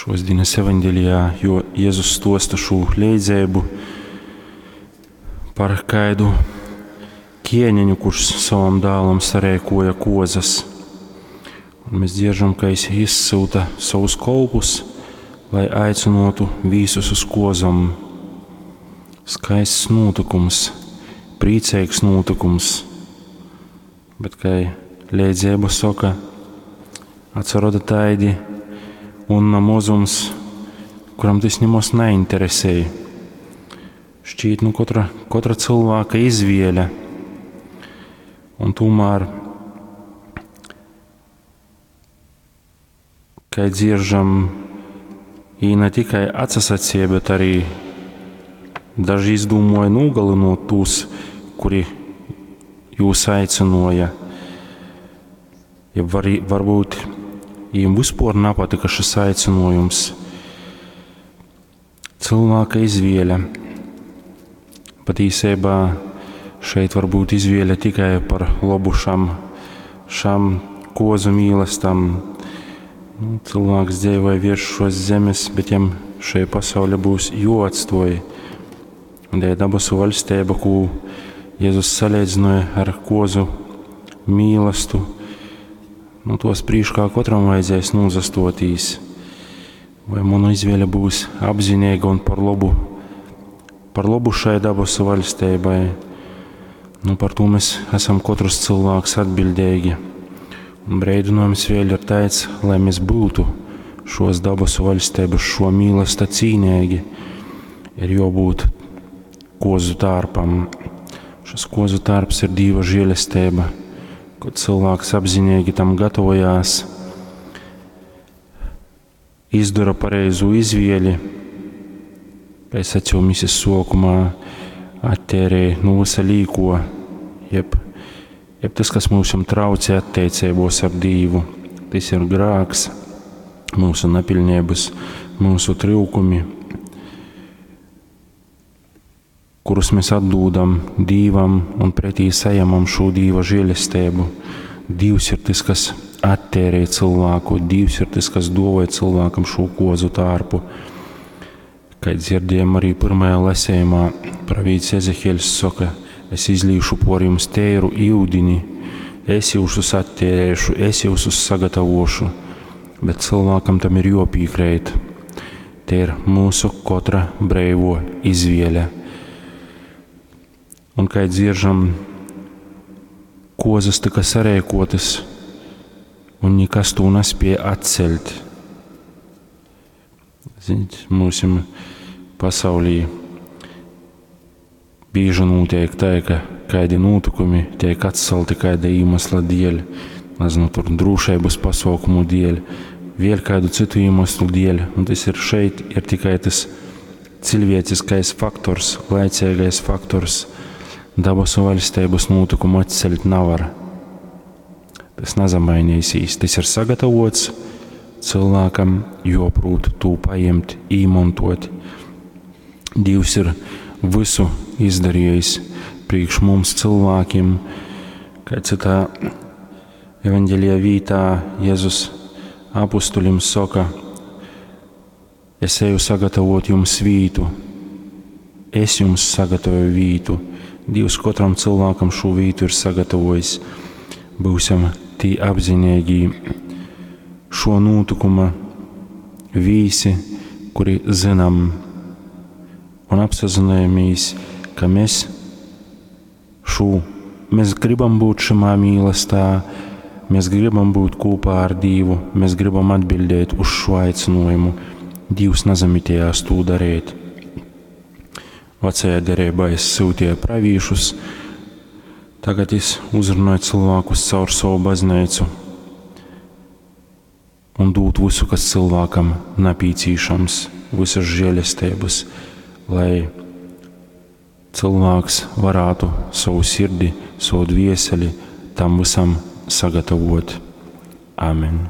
Šos dienas evaņģelijā, jo Jēzus stosta šo leidzeibu par kaidu ķēniņu, kurš savam dēlam sarēkoja kozas. Un mēs dzieržam, ka viņš izsūta savus kolpus, lai aicinotu visus uz kozam. Skaists notikums, priecīgs notikums, bet, kā leidzeiba saka, atsaroda taidi un mozums, kuram tas nemaz neinteresēja. Šķiet, nu, katra, katra cilvēka izvēle. Un tomēr, kā dzieržam, i ne tikai atsasacīja, bet arī daži izdomāja nogalinot tos, kuri jūs aicināja. Ja var, varbūt viņiem vispār nepatika šis aicinājums. Cilvēka izvēle. Patiesībā šeit var būt izvēle tikai par labu šam, šam kozu mīlestam. Nu, cilvēks dzīvoja virs šos zemes, bet jam šai pasaule būs joatstoj. Un tā dabasu valstība, ko Jēzus salīdzināja ar kozu mīlestu, nu, tos prīškā katram vajadzēs nozastotīs. Vai mana izvēle būs apzinīga un par labu, par labu šai dabasu valstībai? Nu, par to mēs esam katrs cilvēks atbildīgi. Un brīdinājums vēl ir tāds, lai mēs būtu šos dabasu valstības, šo mīlesta cīnīgi, ir jābūt kozu tārpam. Šis kozu tārps ir Dieva žēlestība, kad cilvēks apzinīgi tam gatavojās, izdara pareizo izvēli, kā es sacīju misijas sokumā, attērēja no visa līko, jeb, jeb tas, kas mums traucē attiecībos ar Dievu, tas ir grāks, mūsu nepilnības, mūsu trūkumi, kurus mēs atdūdam Dievam un pretī saņemam šo Dieva žēlestību. Dievs ir tas, kas attērē cilvēku, Dievs ir tas, kas dāvāja cilvēkam šo kozu tārpu. Kā dzirdējām arī pirmajā lasījumā, pravīts Ezehiels saka, es izlīšu por jums tēru ūdeni, es jūsus attērēšu, es jūsus sagatavošu, bet cilvēkam tam ir jopīkrēt. Te ir mūsu katra breivo izvēle. Un kā dzieržam, kozas tika sarēkotas, un nekas to nespēja atcelt. Ziniet, mūsim pasaulī bieži notiek tā, ka kādi notikumi tiek atcelti kāda iemesla dēļ, nezinu, tur drošības pasaukumu dēļ, vēl kādu citu iemeslu dēļ, un tas ir šeit, ir tikai tas cilvēciskais faktors, laicīgais faktors. Dabasu valstības notikumu atcelt nevar. Tas nezamainīsies. Tas ir sagatavots cilvēkam, joprūt to paņemt, īmontot. Dievs ir visu izdarījis priekš mums cilvēkiem, kā citā evaņģēlijā vītā Jēzus apustuļiem saka, es eju sagatavot jums vītu, es jums sagatavoju vītu. Dievs katram cilvēkam šo vītu ir sagatavojis. Būsim tī apzinīgi šo notikuma vīsi, kuri zinām un apsazinājamies, ka mēs šo, mēs gribam būt šimā mīlestā, mēs gribam būt kopā ar Dievu, mēs gribam atbildēt uz šo aicinājumu. Dievs nezamitējās to darīt. Vecajā derībā es sūtīju pravīšus, tagad es uzrunāju cilvēkus caur savu baznīcu un dūt visu, kas cilvēkam nepieciešams, visas žēlestības, lai cilvēks varētu savu sirdi, savu dvieseli tam visam sagatavot. Amen.